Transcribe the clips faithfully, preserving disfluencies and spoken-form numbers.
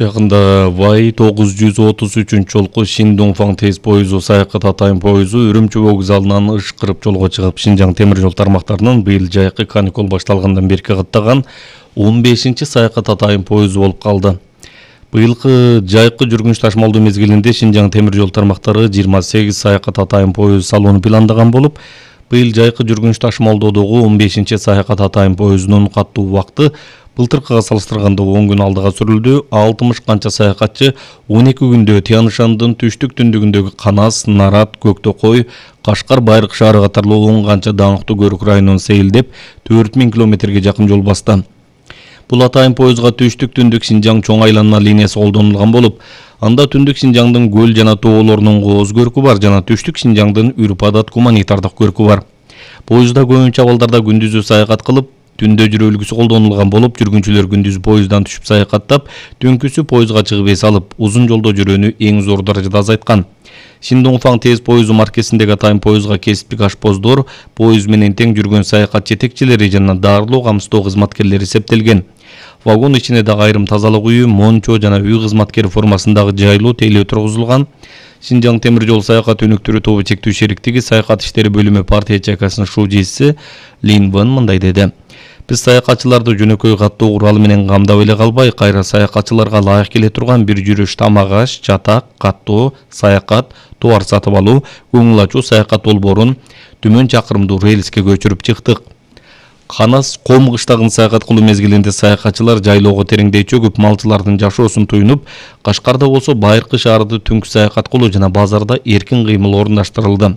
Жакында Вай тогуз жүз отуз үчүнчү жолку Шиндунфан тез поезу Саякат Атайын поезу Үрүмчү вокзалынан ышкырып жолго чыгып, Шинжаң темир жол тармактарынын быйыл жайкы каникул башталгандан бери каттаган он бешинчи Саякат Атайын поезу болуп калды. Быйылкы жайкы жүргүнүч ташмалдоо мезгилинде Шинжаң темир жол тармактары жыйырма сегиз Саякат Атайын поезу салууну пландаган болуп, быйыл жайкы жүргүнүч ташмалоодогу он бешинчи Саякат Атайын поезунун каттуу убакыты былтыркыга салыштырганда он күн алдыга сүрүлдү. алтымыш канча саякатчы он эки күндө Тянь-Шандын түштүк түндүгүндөгү Канас, Нарат, Көктөкой, Кашкар, Байрак шаары катарлуу он канча даңктуу көрүк районун сейилдеп төрт миң километрге жакын жол басты. Бул Атайын поезга түштүк түндүк Шинжаң чоң айланма линиясы колдонулган болуп, анда түндүк Шинжаңдын көл жана тоолорунун кооз көркү бар жана түштүк Шинжаңдын үрп-адат гуманитардык көркү бар. Поездда көбүнчө абалдарда күндүзү саякат кылып, түндө жүрүү үлгүсү колдонулган болуп, жүргүнчүлөр күндүз поезддан түшүп саякаттап, түнкүсү поездга чыгып эс алып, узун жолдо жүрүүнү эң зор даражада азайткан. Шиндунфан тез поезу маркесиндеги Атайын поезга кесиптик ашпоздор, поезд менен тең жүргөн саякат жетекчилери жана дарылоо камсыздоо кызматкерлери эсептелген. Вагон ичине дагы айрым тазалык үйү, мончо жана үй кызматкери формасындагы жайлуу тейлөө тургузулган. Шинжаң темир жол саякат өнүктүрүү тобу чектүү шериктиги саякат иштери бөлүмү партия чайкасынын шужиси Лин Ван мындай деди: Биз саякатчыларды жөнөкөй каттоо куралы менен камдап эле калбай, кайра саякатчыларга ылайык келе турган бир жүрүш тамак аш, чатак, каттоо, саякат, товар сатып алуу, көңүл ачуу саякат долбоорун түмөн чакырымдуу рельске көчүрүп чыктык. Канас Ком кыштагын саякат кылуу мезгилинде саякатчылар жайлоого тереңдей чөгүп, малчылардын жашоосун туйнуп, Кашкарда болсо Байыркы шаарда түнкү саякат кылуу жана базарда эркин кыймыл орундаштырылды.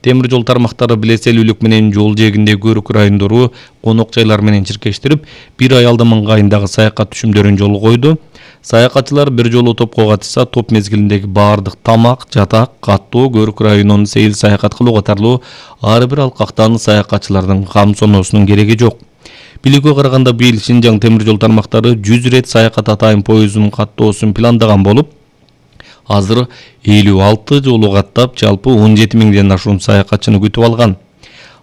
Темир жол тармактары билеселүүлүк менен жол жээгиндеги көрүк райондору конок жайлар менен чиркештирип, бир ай алда маңгайындагы саякат түшүмдөрүн жолго койду. Саякатчылар бир жолу топко катышса, топ мезгилиндеги баардык тамак, жатак, каттоо, көрүк районунун сейил саякат кылуу катарлуу ар бир алкактан саякатчылардын кам соносунун кереги жок. Билүүгө караганда быйыл Шинжаң темир жол тармактары жүз рет Саякат Атайын поезунун каттоосун пландаган болуп, азыр элүү алты жолу каттап, жалпы он жети миңден ашуун саякатчыны күтүп алган.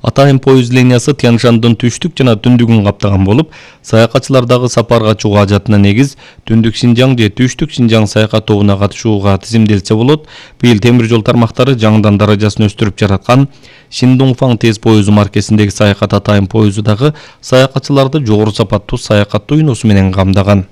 Атайын поезд линиясы Тянь-Шандын түштүк жана түндүгүн каптаган болуп, саякатчылардагы сапарга чыгуу ажатына негиз түндүк Шинжаң же түштүк Шинжаң саякат тобуна катышууга тизимделсе болот. Быйыл темир жол тармактары жаңыдан даражасын өстүрүп жараткан Шиндунфан тез поезу маркесиндеги Саякат Атайын поезу дагы саякатчыларды жогору сапаттуу саякат туйнусу менен камдаган.